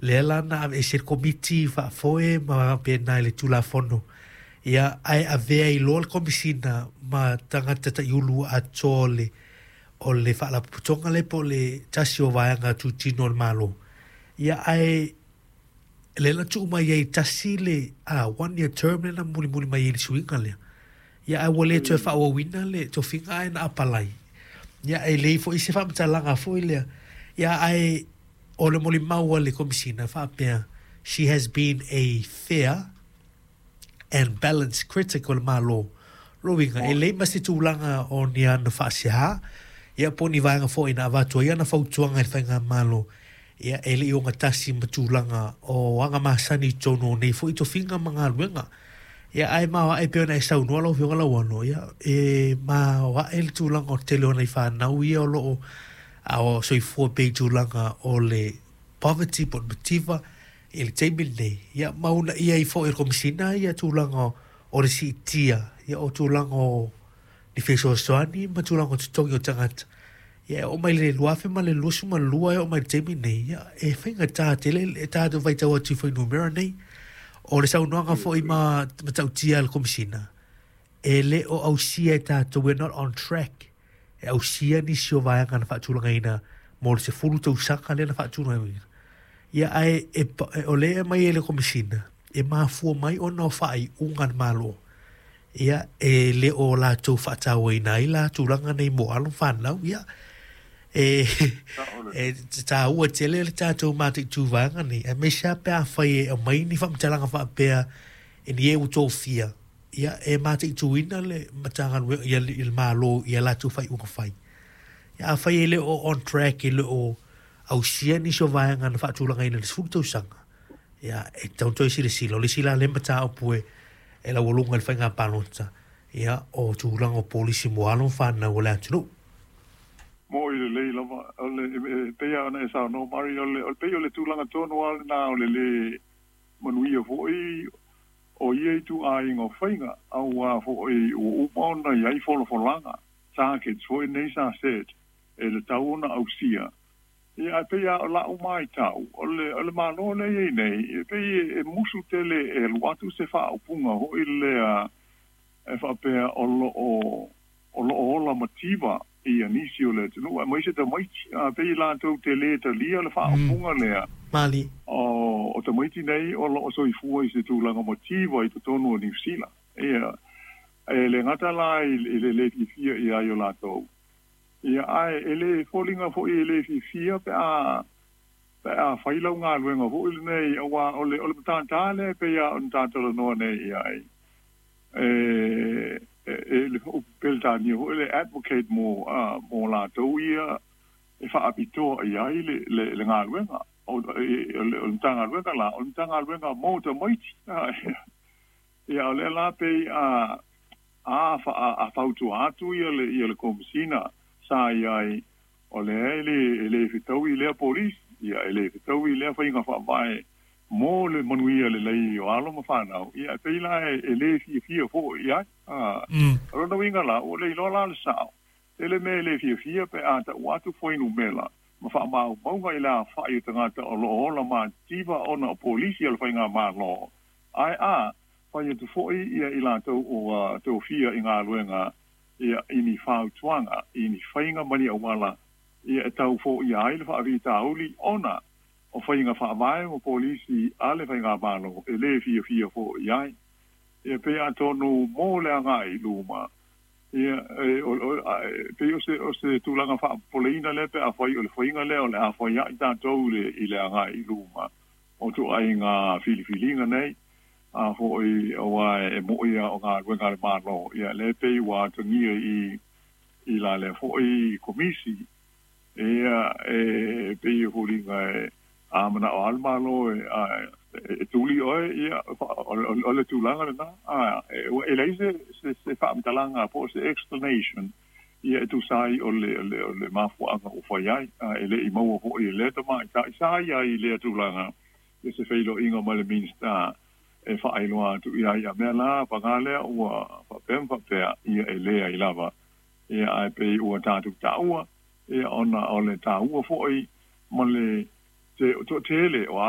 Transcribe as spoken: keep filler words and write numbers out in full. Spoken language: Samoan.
Lea la na aveese le Komiti Faafoe ma faapena i le Tulafono, ia ae avea ai loa le Komisina ma tagata taiulu atoa o le o le Faalapotopotoga lea po o le tasi o vaega tutino o le Malo. Ia ae lea na tuu mai ai tasi le a one year term lea na mulimuli mai ai le suiga lea. Ia ae ua le toe faaauauina le tofiga ae na apalai. Ia e leai foi se faamatalaga foi lea. Ia ae o le molimau a le Komisina faapea, she has been a fair and balanced critic o le Malo. Lona uiga, e leai ma se tulaga o ni ana faasea, ia po o ni vaega foi na avatu ai ana fautuaga i le faigamalo, ia e le i ogatasi ma tulaga o aga masani i totonu o nei foi tofiga ma galuega. Ia ae maoae pei ona e saunoa lau Afioga Lauano, ia e maoae le tulaga o le tele o nai fanau ia o lo o a o soifua pea i tulaga o le poverty po o le mativa i le taimi lenei. Ia ma uunaia ai foi e le Komisina ia tulaga o le siitia ia o tulaga o ni fesoasoani ma tulaga o totogi o tagata. Ia e oo mai le two thousand twenty-two e oo mai le taimi nei, ia e faigata tele e tatou faitau atu i fuainumera nei. O le saunoaga foi ma matautia a le Komisina, e le o ausia e tatou, we're not on track e ausia nisi o vaega na faatulagaina mo le sefulu tausaga lea na faatulagaina. Ia ae e, e, o lea e mai e le Komisina, e mafua mai ona o faaiuga a le Malo. Ia e le o latou faatauaina ai la tulaga nei mo alo fanau. Ia e e taua tele le tatou mataitu vaega nei, aemaise lava pe afai e aumai ni faamatalaga faapea e ni e ua tofia, ia e mataituina le Matagaluega ia le Malo ia latou faaiuga fai. Ia afai e le o on track, e le o ausia nisi o vaega na faatulagaina i le sefulu tausaga, ia e tatau ona toe silasila. O le isi la lea mataupu e e laualuga i le faiga palota, ia o tulaga o polisi mo alo ma fanau o le atunuu. Mo i lelei lava o le e pei lava ona e saunoa Mari, o le o le pei o le tulaga tonu lava lena o le lē manuia foi o ia ituaiga o faiga, auā foi ua uma ona i ai folafolaga targets foi nei sa set e le tau ona ausia. Ia ae pei lava o la'u matau o le o le Malo lea i ai nei e pei e musu tele e alu atu se faaupuga foi lea e faapea o loo o loo ola mativa ia nisi o le atunuu aemaise tamaiti, a pei latou te lē talia le faaupuga lea mali o o tamaiti nei o loo soifua i se tulaga mativa i totonu o Niusila. Ia e le gata la i le lē fiafia i ai o latou, ia ae e lē foliga foi e lē fiafia pe a pe a fai lau galuega foi lenei, auā o le o le matatā lea pei a ona tatalanoa nei i ai e e le Peretania foi le advocate mo a mo latou ia e faapitoa i ai le le le galuega o le o le Matagaluega la o le Matagaluega mo tamaiti. Ia o lea la pei a a fa a fautua atu ia le ia le Komisina sa i ai o lea e le e le fetaui lea polisi, ia e le fetaui lea faiga faavae mo le manuia lelei o alo ma fanau. Ia e pei la e lē fiafia foi i ai a o lona uiga la ua le iloa la le sao tele mea e lē fiafia pe a ta'u atu fuainumera ma faamaumauga i le afa'i o tagata o loo ola mativa ona o polisi o le faigamalo, ae a fai atu foi ia i latou ua tofia i galuega ia i ni fautuaga i ni faiga ma ni auala ia e tau foia ai le faafitauli ona o faiga faavae ma polisi a le faigamalo e lē fiafia fo'i ai. Ia pei atonu mo le agai luma ia e o e pei o se o se tulaga faapopoleina lea pe afai o le faiga lea o le a fai ai tatou le i le agai i luma o ituaiga filifiliga nei a foi auā e mo'i a o galuega a le Malo. Ia lea pei ua atagia i i la lea foi komisi, ia e pei e foliga e a mana'o a le Malo e a e tuli oe, ia o le tulaga lena a e leai se se se faamatalaga po o se explanation ia e tusa ai o le o le o le mafuaaga ua fai ai a e le'i maua fo'i e lea tamaita'i sa ia i lea tulaga ia se feiloaiga ma le Minista e faailoa atu i ai ia mea la paga lea ua faapea ma faapea ia e lē ai lava. Ia ae pei ua tatou taua ia ona o le taua fo'i ma le toatele o